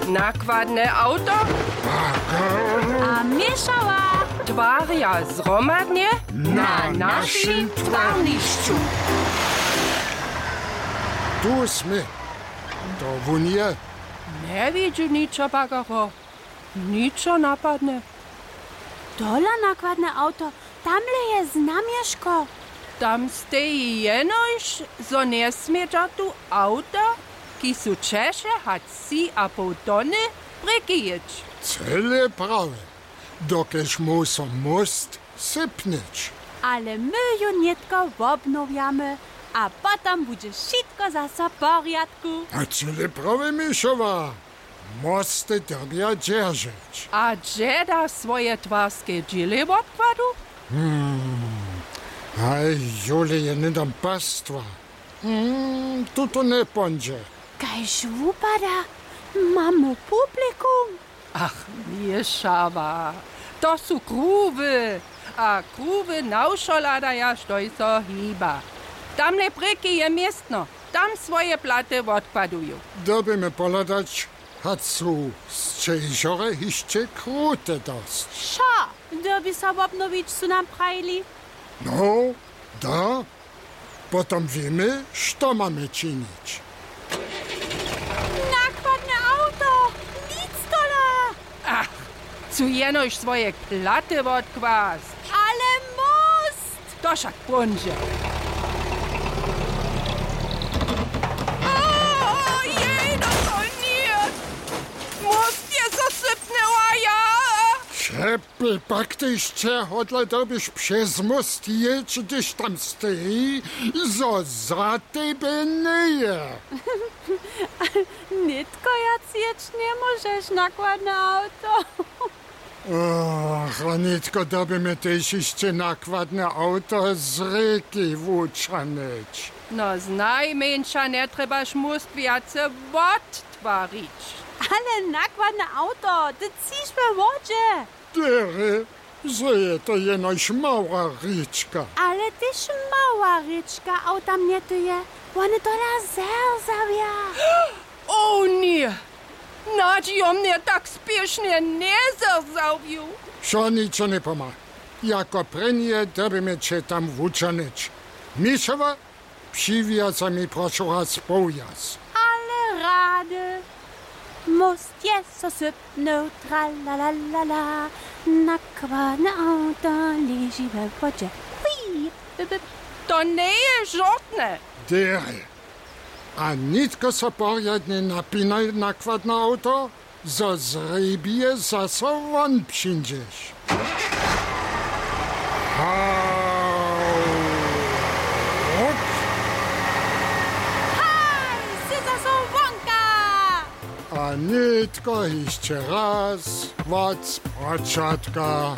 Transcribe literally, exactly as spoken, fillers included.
Nakładne awto a Měšała twarja zhromadnje na našim twarnišću. Tu smy. To wón je. Njewidźu ničo, Bagaro. Ničo napadne. Tola nakładne awto, tamle je znamješko. Tam steji jenož, zo njesmědźa tu awta, kiž su ćeše hač tři a poł tony, prěki jěć. Cyle prawje, dokelž móhł so móst sypnyć. Ale my ju nětko wobnowjamy a potom budźe wšitko zaso w porjadku. A cyle prawje, Měšała. Mosty dyrbja dźeržeć. A hdźe da swoje twarske dźěle wobkładu? Hmm. Haj, jule je hnydom pastwa. Hmm, tu to njepóńdźe. Kaž wupada, mamy publikum. Ach, Měšała, to su kruwy. A kruwy na wšo hladaja, štož so hiba. Tamle prěki je městno. Tam swoje platy wobkładuju. Dyrbimy pohladać, hač su sćežorje hišće krute dosć. Wšo, dyrbi so wobnowić, su nam prajili. No, da. Potom wěmy, što mamy činić. Nakładne awto, nic tola! Ach, chcu jenož swoje platy wotkłasć. Ale móst! To wšak póńdźe. O, jej, no to nje! Móst je zasypnył a ja! Přepyl, pak tež će hodle dyrbiš přez móst jěć, hdyž tam steji, zo za tebje njeje. Nětko wjac jěć njemóžeš, nakładne awto. Och, a nětko dyrbimy tež hišće nakładne awto z rěki wućahnyć. No, znajmjeńša njetrjebaš móst wjace wottwarić. Ale nakładne awto, ty třiš we wodźe. Derje, zo je to jenož mała rěčka. Ale tež mała rěčka awta mjetuje, wone tola zerzawja. O ně! Nadźijomnje tak spěšnje njezerzawju. Wšo ničo njepomha. Jako prěnje dyrbimy će tam wućahnyć. Měšała, přiwjazaj mi prošu raz powjaz. Ale rady. Móst je so sypnył, tralalalala. Nakładne awto leži we wodźe. Hui, bip, bip. To njeje žortne. Derje. A nětko so porjadnje napinaj, nakładne awto, zo z rěbje zaso won přińdźeš. Hawk! Haj, sy zaso wonka! A nětko hišće raz wot spočatka.